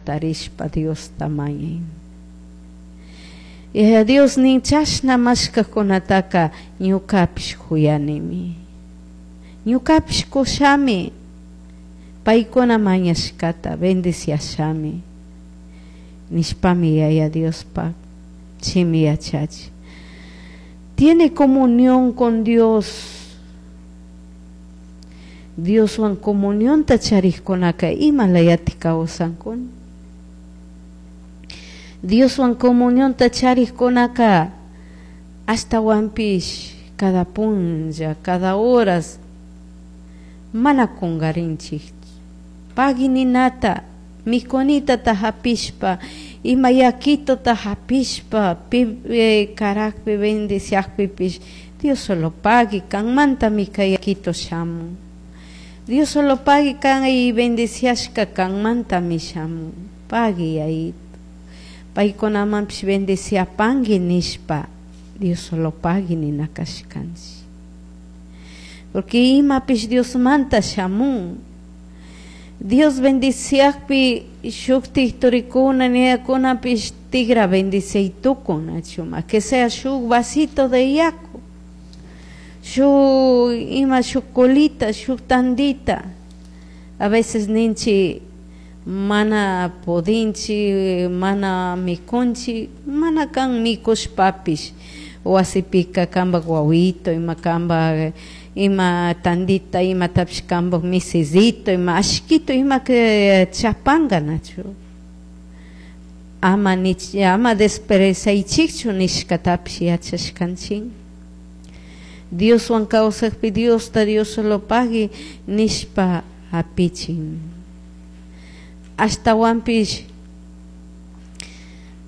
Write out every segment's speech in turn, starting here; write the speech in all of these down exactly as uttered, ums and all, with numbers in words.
Jatarishpa Diosta mañay. Yaya Dios nin chashna mashkajkunataka ñukapish huyanimi. Ñukapish kushami paykuna mañashkata bendiciashami nishpami Yaya Diospa shimi yachachi. Tiene comunión con Dios. Dioswan comunionta charikkunaka ima layatik kawsankuna. Dioswan comunionta charikkunaka ashtawanpish cada punlla, cada horas mana kungarinchik. Pagui ninata, mikunitata hapishpa, ima yakituta hapishpa, pi eh, karakpi bendiciakpipish Dios solo pagui kanmantami kay yakito shamun. Dios solo pagui kan y bendiciashka kanmantami shamun. Pagui yayito. Paykunamanpish bendiciapanki nishpa Dios solo pagui nina kashkanchik. Porque imapish Diosmanta shamun. Dios bendiciakpi shuktik turikuna niyakunapish tigra bendiciay tukun nachuma que sea shuk vasito de yaku shuk ima shuk colita shuk tandita a veces ninchik mana pudinchik mana mikunchik mana kan mikushpapish wasipika kanpak wawito ima kanpak ima tandita imatapish kanpak misisito ima ashkito ima chapanka nachu ama nich ama despreciaychikchu nishkatapish yachashkanchik. Dioswan kawsakpi Diosta Dios solo pagui nishpa hapichin. Ashtawanpish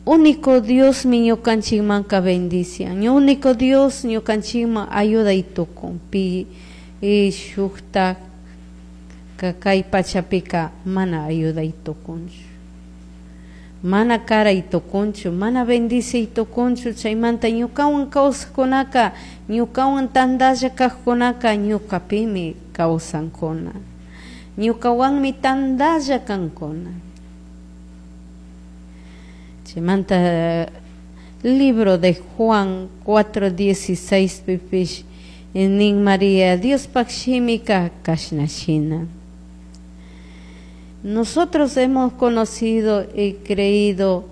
único Diosmi ñukanchikmanka bendician, único Dios ñukanchikman ayuday tukun pi shukta kay pachapika mana ayuday tukunchu, mana karay tukunchu, mana bendiciay tukunchu. Chaymanta ñukawan kawsakkunaka ñukawan tantalla kajkunaka ñukapimi kawsankuna, ñukawanmi tantalla kankuna. Chaymanta libro de Juan cuatro dieciséis pipish nin María Diospak shimika kashna shina. Nosotros hemos conocido y creído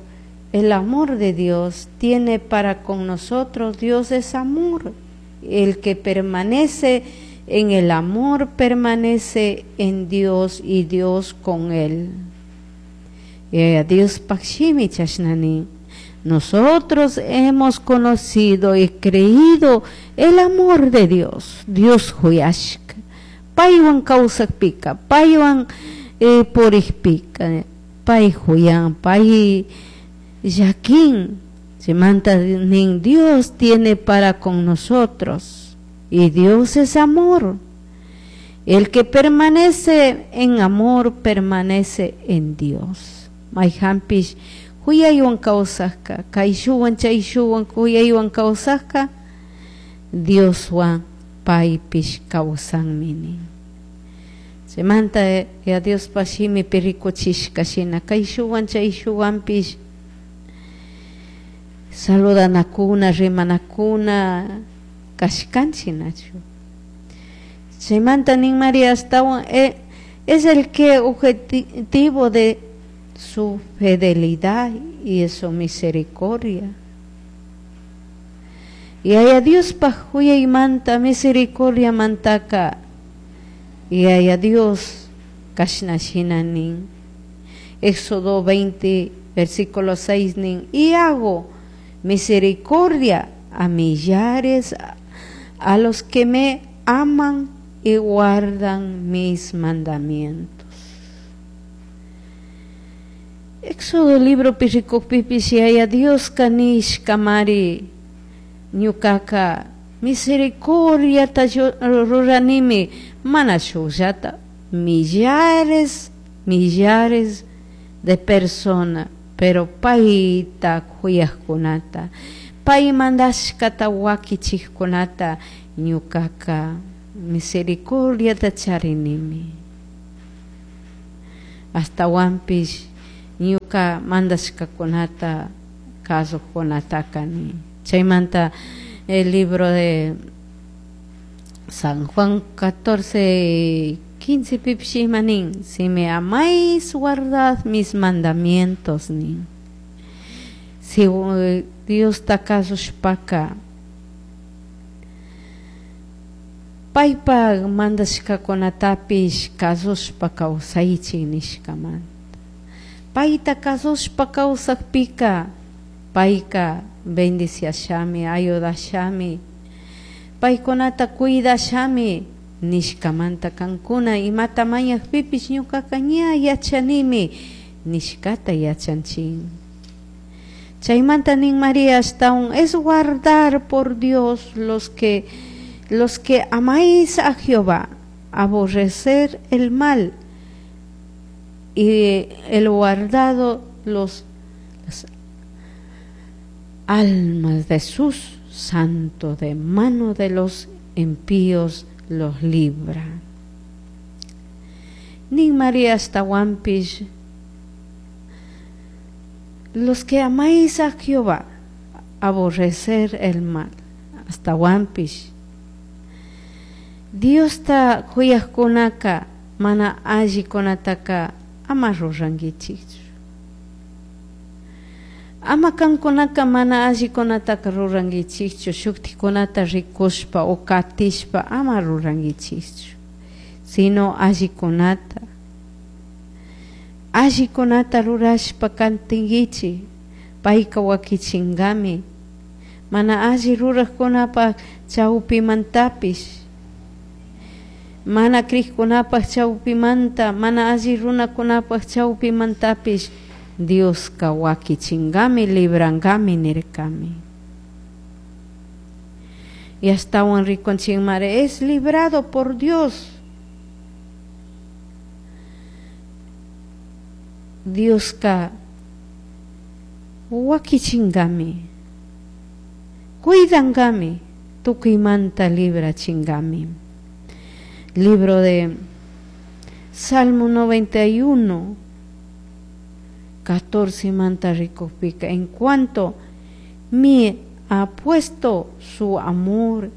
el amor de Dios tiene para con nosotros. Dios es amor. El que permanece en el amor permanece en Dios y Dios con él. Eh, Dios pakshimi chashnani. Nosotros hemos conocido y creído el amor de Dios. Dios huyashka. Paywan kawsakpika, paywan eh, purikpika, pay huyan, pay llakin. Chaymanta nin Dios tiene para con nosotros. Y Dios es amor. El que permanece en amor permanece en Dios. Mayhanpish huyaywan kawsakka, kayshuwan chayshuwan huyaywan kawsakka, Dioswan paypish kawsanmi nin. Chaymanta ya Diospa shimipi rikuchishka shina kayshuwan chayshuwanpish saludanakuna, rimanakuna kashkanchik nachu. Chaymanta nin María astawan eh, es el que objetivo de su fidelidad y su misericordia. Yaya Diospaj huyaymanta misericordia mantaka Yaya Dios kashna shina nin. Éxodo veinte versículo seis nin y hago misericordia a millares a los que me aman y guardan mis mandamientos. Éxodo libro pirikukpipish Yaya Dios kanishka mari ñukaka misericordiata ruranimi mana shukllata millares, millares de personas, pero payta kuyajkunata, pay mandashkata wakichikkunata ñukaka misericordiata charinimi. Ashtawanpish ñuka mandashkakunata kasuqkunataka nin. Chaymanta el libro de San Juan catorce quince pipish ima nin, si me amáis guardad mis mandamientos nin. Si Diosta kasushpaka paypak mandashkakunatapish kasushpa kawsaychik nishkamanta. Payta kasushpa kawsakpika payka bendiciashami, ayudashami, paykunata cuidashami nishkamanta kankuna imata mañakpipish ñukaka ña yachanimi nishkata yachanchik. Chaymanta nin María ashtawan es guardar por Dios los que los que amáis a Jehová, aborrecer el mal y el guardado los las almas de sus santos de mano de los impíos los libra. Nin María ashtawanpish los que amáis a Jehová, aborrecer el mal, ashtawanpish Diosta kuyaqkunaka mana allikunataka ama rurankichikchu. Ama kankunaka mana allikunataka rurankichikchu, shuktikunata rikushpa o katishpa ama rurankichikchu, sino allikunata allikunata rurashpa katinkichik, payka wakichinkami mana alli ruraqkunapaq chawpimantapish, mana krikkunapaq chawpimanta, mana alli runakunapaq chawpimantapish Dioska wakichinkami, librankami nirkami. Y ashtawan rikunchikmari es librado por Dios. Dioska wakichinkami, cuidankami, tukuymanta librachinkami. Libro de Salmo noventa y uno, catorce manta rikukpika, en cuanto me ha puesto su amor,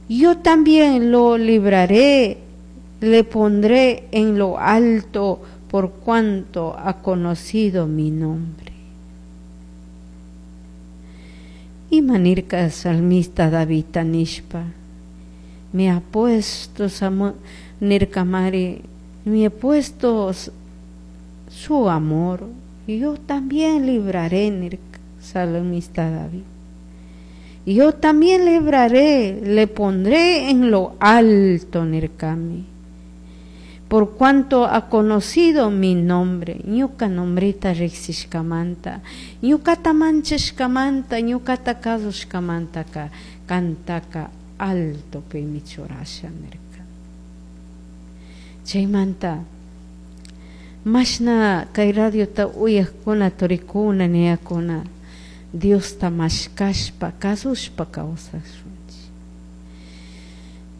yo también lo libraré, le pondré en lo alto por cuanto ha conocido mi nombre. Y manirka salmista David nishpa, me ha puesto nirkamari, me ha puesto su amor, yo también libraré, nirka salmista David. Yo también libraré, le pondré en lo alto, nirkami, por cuanto ha conocido mi nombre. Ñuka nombrita riksishkamanta, ñukata manchashkamanta, ñukata kasushkamantaka kantaka alto pimi churasha nirka. Chaymanta mashna kay radiota uyaqkuna turikuna niyakuna Diosta mashkashpa kasushpa kawsashunchik.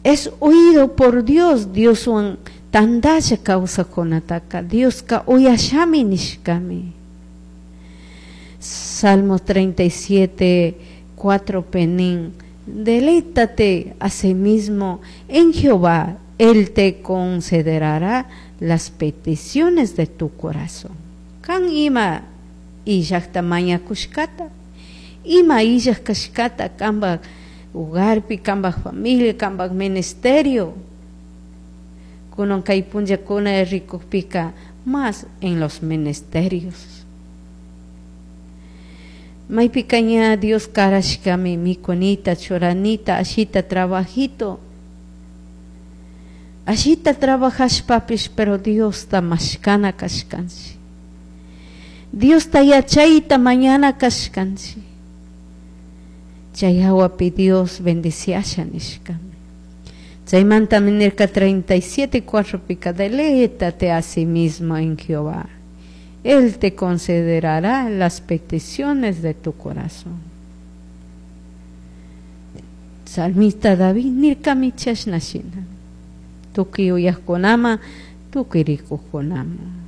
Es oído por Dios, Dioswan tandalla kawsaqkunataka Dioska uyashami nishkami. Salmo treinta y siete, cuatro penin, deleítate a sí mismo en Jehová, Él te concederá las peticiones de tu corazón. Kan ima illaqta mañakushkata, ima illaq kashkata kambaq hogarpi, kambaq familia, kambaq ministerio. Kunan kay punllakuna rikukpika más en los ministerios. Maypika ña Dios karashkami mikunita, churanita, ashita trabajito. Ashita trabajashpapish, pero Diosta mashkana kashkanchik. Diosta yachayta mañana kashkanchik. Chay hawapi Dios bendiciasha nishkami. Chaymanta nirka treinta y siete, cuatro pika, deleítate a sí mismo en Jehová, Él te concederá las peticiones de tu corazón. Salmista David nirkami chashnashina, tukuy uyaqkunama, tukuy rikuqkunama.